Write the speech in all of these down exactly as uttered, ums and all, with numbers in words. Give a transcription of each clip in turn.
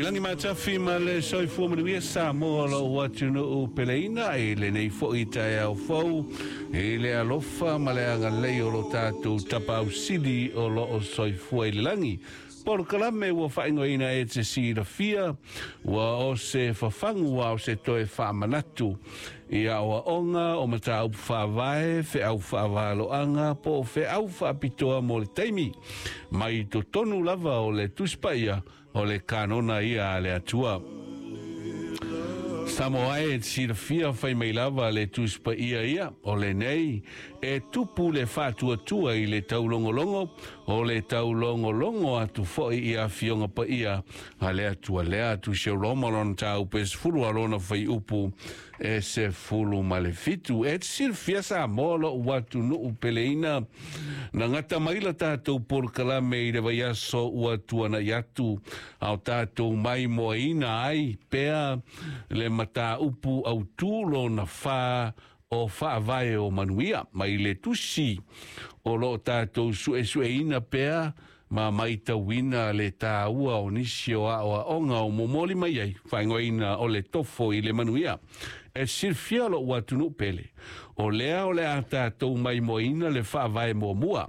Lagi matafi ma le soifua manuia Samoa lou atunuu peleina i lenei fo'i taeao fou i le alofa ma le agalelei o lo tatou Tapaau Sili o loo soifua i le lagi. Polokalame ua faaigoaina E Te Silafia ua o se fafagu a o se toe faamanatu i aoaoga o mataupu faavae, feau faavaloaga po o feau faapitoa mo le taimi mai totonu lava o le Tusi Paia o le kanona ia a le Atua. Samoa e silafia fai mai lava le Tusi Paia ia o lenei e tupu le faatuatua i le taulogologo o le taulogologo atu fo'i i afioga paia a le Atua lea Tusi o Roma lona mataupu e sefulu a lona fuaiupu e sefulu ma le fitu. E silafia Samoa lo'u atunuu peleina na gata mai la tatou polokalame i le vaiaso ua tuana'i atu ao tatou maimoaina ai pea le mataupu autū lona fa o faavae o manuia mai le tusi o loo tatou suesueina pea ma maitauina le tāua o nisi o aoaoga o momoli mai ai faaigoaina o le Tofo i le Manuia. E silafia lo'u atunuu pele o lea o le a tatou maimoaina le faavae muamua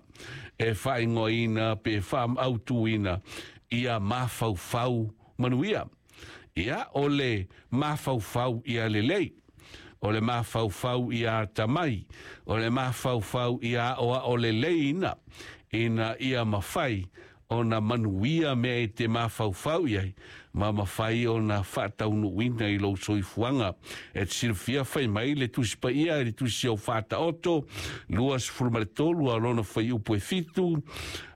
e faaigoaina pe faamautuina ia mafaufau manuia. Ia o le mafaufau ia lelei, o le mafaufau ia atamai, o le mafaufau ia aoao leleina ina ia mafai ona manuia mea e te mafaufau i ai ma mafai ona faataunuuina i lou soifuaga. E te silafia fai mai le Tusi Paia i le Tusi o Faataoto luasefulu ma le tolu a lona fuaiupu e fitu,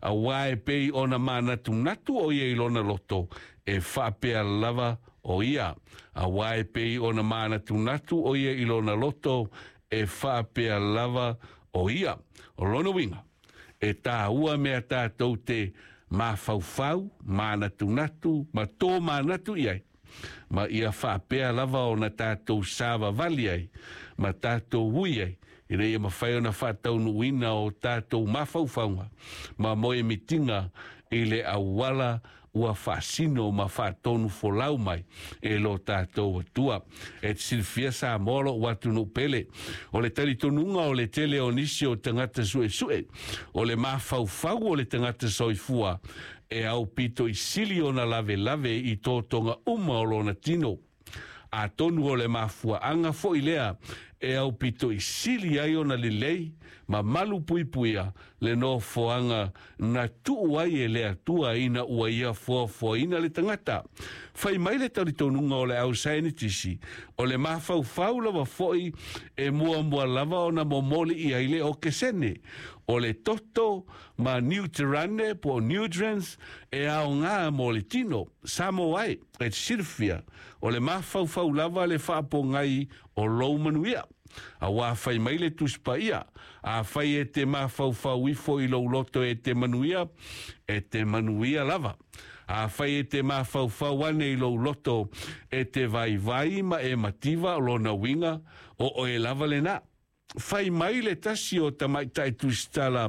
auā e pei ona manatunatu o ia i lona loto e faapea lava o ia. Auā e pei ona manatunatu o ia i lona loto e faapea lava o ia. O lona uiga e tāua mea tatou te mafaufau, manatunatu ma tō manatu i ai ma ia faapea lava ona tatou savavali ai ma tatou ui ai ina ia mafai ona faataunuuina o tatou mafaufauga ma moemitiga i le auala ua faasino ma faatonu folau mai e lo tatou Atua. E te silafia Samoa lo'u atunuu pele, o le talitonuga o le tele o nisi o tagata suesue, o le mafaufau o le tagata soifua e aupito i sili ona lavelave i totoga uma o lona tino. Atonu o le mafuaanga fo'i lea e aupito i sili ai ona lelei ma malu puipuia le nofoaga na tuu ai e le Atua ina ua ia foafoaina le tagata. Fai mai le talitonuga o le au saienitisi, o le mafaufau lava fo'i e muamua lava ona momoli i ai le okesene. O le toto ma niuterane po o nutrients e aogā mo le tino. Samoa e, e te silafia, o le mafaufau lava le faapogai o lou manuia. Auā fai mai le Tusi Paia, afai e te mafaufau ifo i lou loto e te manuia, e te manuia lava. Afai e te mafaufau ane i lou loto e te vaivai ma e mativa o lona uiga, o oe lava lenā. Fai mai le tasi o tamaitai tusitala